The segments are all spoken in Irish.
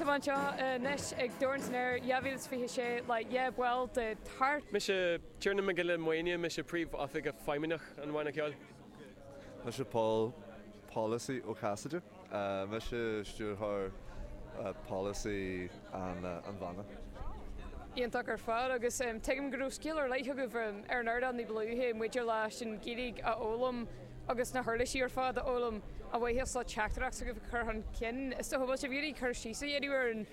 Tá mé anseo anois ag Dorn san Aer 2026 le 2 bhall de Tart. Mise Tiarnán Mac Giolla Mhaine, mise Príomhoifigeach Feidhmeannach an Bhanna Ceoil. Mise Paul Polacy Ó Casaide, mise Stiúrthóir Polasaí an bhanna. Iontach ar fad agus tuigim go raibh scéal ar leith agaibh ar an ardán ní ba luaithe maidir leis an Ghaeilge a fhoghlaim agus na huirlisí ar fad a fhoghlaim a mhaithe le teachtaireacht s'agaibh a chur chun cinn. Is dócha, bhfuil sibh ag iarraidh cur síos a dhéanamh ar an,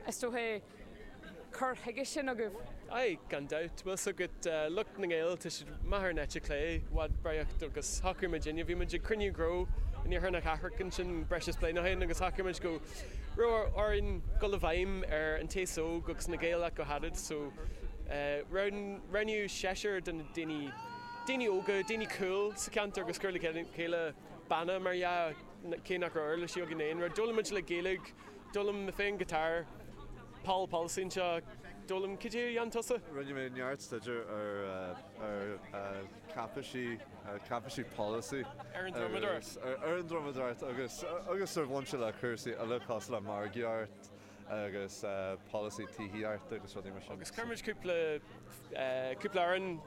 is dócha, cur chuige sin agaibh? Aye, gan dabht. Bhfuil 's agat, lucht na nGael, tá siad maith ar an eite chlé, i bhfad breaíocht agus shocraigh muidinne, bhí muid ag cruinniú gnó in iarthar na cathrach ansin breis is bliain ó shin agus shocraigh muid go raibh orainn dul i bhfeidhm ar an t-aos óg agus na Gaeil ach go háirid so roghnaíodh seisear de na daoine, daoine óga, daoine cool sa cheantar agus cur le chéile banna mar dhea, cé nach raibh uirlisí againn aon rud. D'fhoghlaim muid le Gaeilge, d'fhoghlaim mé féin guitar, Paul Polacy anseo, d'fhoghlaim, cad é a dhein tusa? Rinne mé neart staidéir ar ar cáipeisí, cáipeisí polasaí. Ar an drumadóireacht. Ar an drumadóireacht agus agus ar bhain sé le cúrsaí eile cosúil le margaíocht agus polasaí tithíochta agus rudaí mar sin. Agus chuir muid cúpla cúpla amhrán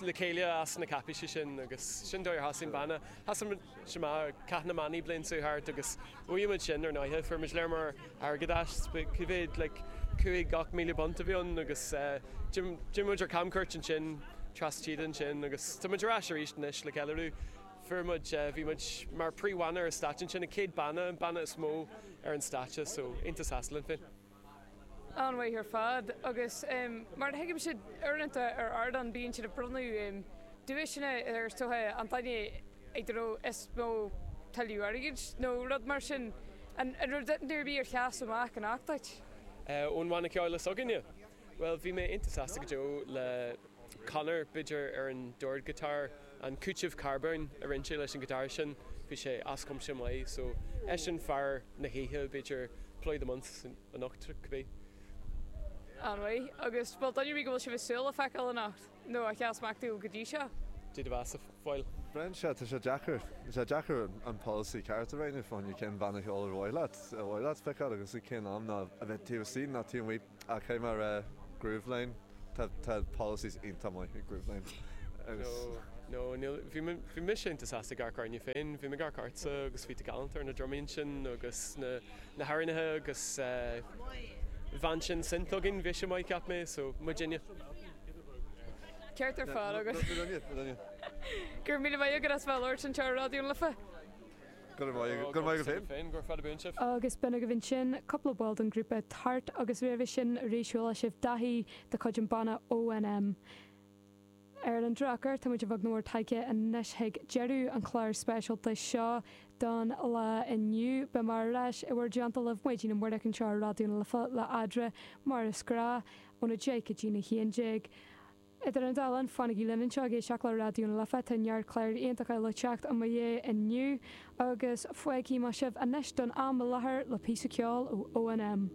le chéile as na cáipéisí sin agus sin dóigh ar thosaigh an banna. Thosaigh muid amach Cath na mBannaí bliain seo thart agus bhuaigh muid sin ar ndóighe. Fuair muid léar mór airgead as, cá mhéad like 5, 8,000 punt a bhí ann agus d'imigh muid ar camchuairt ansin trasna tíre ansin agus tá muid ar ais arís anois le ceiliúradh. Fuair muid, bhí muid mar príomhbhanna ar an stáitse ansin, an chéad banna, an banna is mó ar an stáitse so iontach sásta linn féin. An-mhaith ar fad. Agus mar a thuigimse, uaireanta ar ardán bíonn siad ag bronnadh duaiseanna ar is dócha an duine ag a raibh is mó tuilleadh airgid nó rud mar sin. An raibh duine ar bith ar sheas amach anocht duit? Ón bhanna ceoil s'againne? Bhuel, bhí mé iontach sásta go deo le Conor, b'fhéidir, ar an dordghiotár, an cúiteamh carbóin a rinne sé leis an ghiotár sin, bhí sé as cuimse maith. So, eisean fear na hoíche, b'fhéidir, player of the month anocht, cibé. An-mhaith. Agus bhfuil duine ar bith go bhfuil sibh ag súil le feiceáil anocht, nó a sheas amach daoibh go dtí seo? Dé do bheatha, a Phóil. Brenn, Sea, tá sé deacair. Tá sé deacair an polasaí ceart a roghnú fá choinne cén bhanna ceoil ar mhaith leat, ar mhaith leat feiceáil agus ag cén am ná a bheith taobh istigh ná taobh amuigh. Ach caithfidh mé a rá Grooveline, tá tá policies iontach maith ag Grooveline agus. No, no, níl, bhí mé, bhí mise iontach sásta ag amharc orainne féin, bhí mé ag amharc ortsa agus bhí tú galánta ar na drumaí ansin agus na, na hamhránaithe agus eh bhean sin synth againn, bhí sé maith cheap mé, so muidinne. Ceart ar fad agus. Muidinne, muidinne. Go raibh míle maith agat as bheith ag labhairt anseo ar Raidió na Life. Go raibh maith agat féin. Go raibh fada buan sibh. Agus b'in agaibh ansin cúpla ball den ghrúpa Tart agus roimhe sin arís chuala sibh Daithí de chuid an banna ONM. Ar an drochuair tá muid a bheag nó a mhór tagtha anois chuig deireadh an chláir speisialta seo don lá inniu. Beidh mé ar ais i bhur dteannta libh maidin amárach anseo ar Raidió na Life le Eadra mar is gnáth óna 10 go dtína 11. Idir an dá linn, fanaigí linn anseo ag éisteacht le Raidió na Life, tá neart cláir iontacha eile le teacht i mo dhiaidh inniu, agus fágfaidh mé sibh anois don am i láthair le píosa ceoil ó ONM.